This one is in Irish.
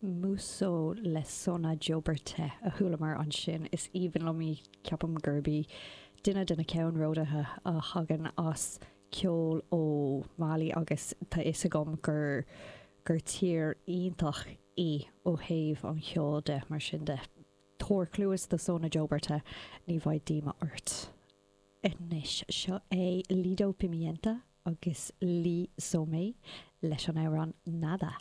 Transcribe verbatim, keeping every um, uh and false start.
Muso le Sona Joberté a chualamar ansin is aoibhinn liom í ceapaim gurb í duine de na ceannródaithe a thagann as ceol ó Mali agus tá fhios agam gur gur tír iontach í ó thaobh an cheoil de mar sin de. Tabhair cluas do Sona Joberté ní bheidh díomá ort. Anois seo é Lido Pimienta agus Lee Somé leis an amhrán Nada.